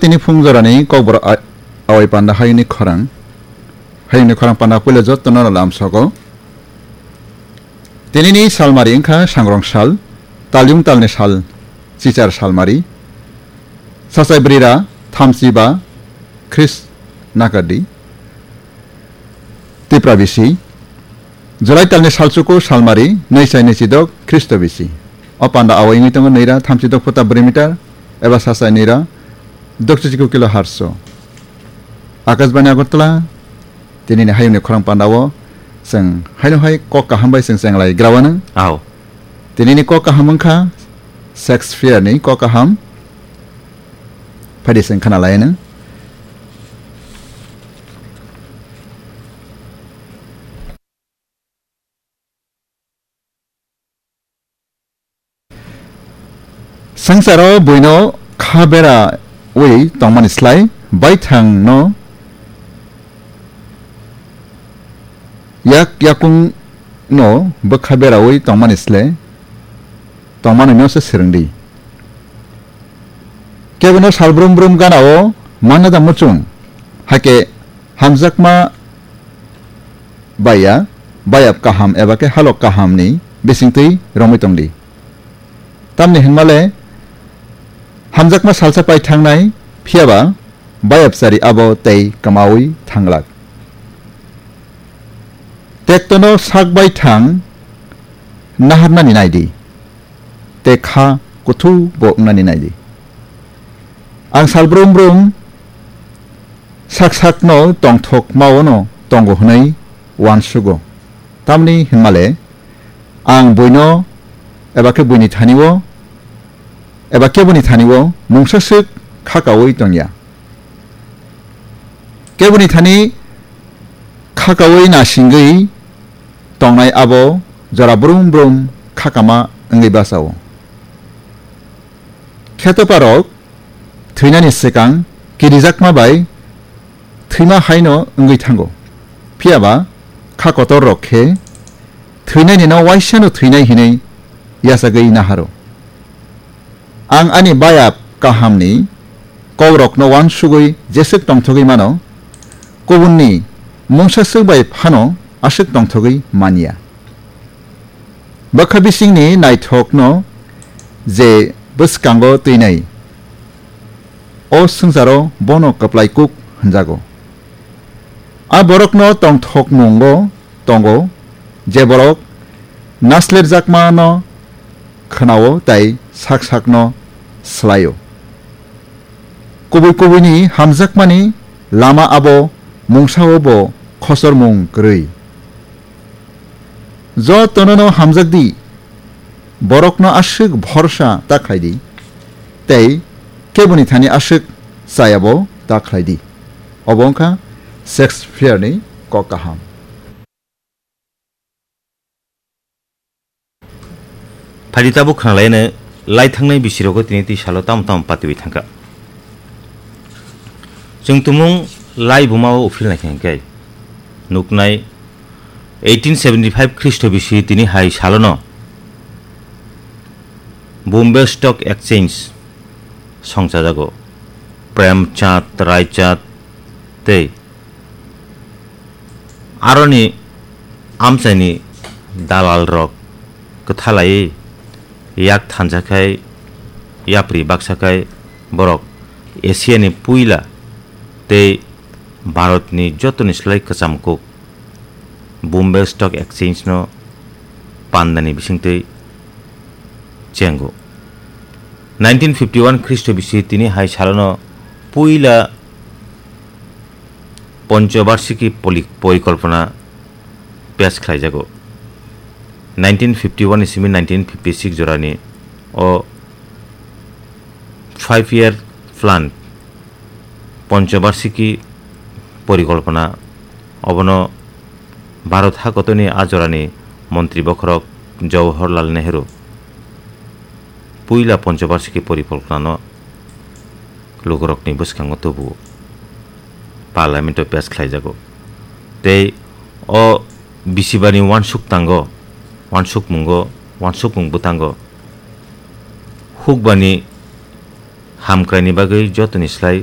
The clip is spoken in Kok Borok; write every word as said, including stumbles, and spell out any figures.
Tini phung jorani kokborok a-, awai panda hayungni khorang. Hayungni khorang panda puila jotono lam sogo. Tinini salmari wngkha sangrong sal, talyung talni sal, chichar salmari. Sachai brira thamchi ba Khris nakardi. Tipra bisi. July talni salchuku salmari, nwi chai nwi chidok Khristo bisi. O panda awai wngwi tongo nwi ra thamchi dok phota bwrwi meter, eba sa chai nwi ra dok chichiku kilo harso. Akashbani Agartala, tinini hayungni khorang pandao chwng haino hai kok kaham bai chwng chenglai grawanang. Ao. Tinini kok kaham wngkha Shakespeare ni kok kaham. Phaidi chwng khana lainang. Swngcharo buino kha berawi tongmani slai baithangno yak yakungno bwkha berawi tongmani sle tongmanoino se swrwngdi. Kebono sal brum brum ganao mangna da muchung, hakhe hamjakma baiya, bayap kaham eba khe halok kahamni bisingtwi romwi tongdi. Tamni hinmale hamjakma salsa pai thangnai, phiyaba bayap chari abo tei kwmaui thanglak. Tektono sak bai thang naharnani naidi. Tei kha kuthu bo wngnani naidi. Ang sal brum brum sak sakno tongthok maono tongo hwnwi uansugo. Tamni hinmale ang buino eba khe buini thanio eba keboni thanio mungsa swk khakaui tongya. Keboni thani khakaui nasingwi tongnai abo jora brum brum khakama wngwi bachao. Khetoparok thwinani swkang kirijakma bai thwima haino wngwi thango. Phiyaba kha kotor rok khe thwinani no waisano thwinai hinwi yachagwi naharo. Ang ani bayap kahamni kokrokno uansugwi jeswk tongthogwi mano, kubunni mungsa swk bai phano aswk tongthogwi manya. Bwkha bisingni naithokno je bwskango twinai, o swngcharo bono kwplai kuk hwnjago. A borokno tongthok mungo tongo, je borok naslerjakmano khwnao tei sak sakno swlaio. Kubui kubuini hamjakmani lama abo mungsao bo khochormung kwrwi. Jotonono hamjak di, borokno aswk bhorsa ta khlai di, tei keboni thani aswk chayabo ta khlai di. Obo wngkha Shakespeare-ni kok kaham. Phaidi tabuk khwnalaino lai thangnai bisirogo tini twi salo tamo tamo patiwi thangkha. Chwng tumung lai buma o uphil naikha hinkhe nuknai eighteen seventy-five Khristo bisi tini hai salono Bombay Stock Exchange songchajago. Prem Chand, Rai Chand tei aroni amchaini dalalrok kwthalaiwi yak thansa khai yapri baksa khai borok Asiani puila tei Bharatni jotoni slai kwcham kuk Bombay Stock Exchange no pandani bisingtwi chengo. Nineteen fifty-one Khristo bisi tini hai salono puila Ponchobarshiki poli-, Porikolpona pass khlaijago. Nineteen fifty-one ni simi nineteen fifty-six jorani o five year plan Ponchobarshiki Porikolpona obono Bharat hakotoni a jorani montri bokhorok Jawaharlal Nehru puila Ponchobarshiki Porikolponano lukurokni bwskango tubuo, Parliament-o pass khlaijago. Tei o bisibani uansuk tango, uansukmungo, uansukmung bwtango hukbani hamkraini bagwi jotoni slai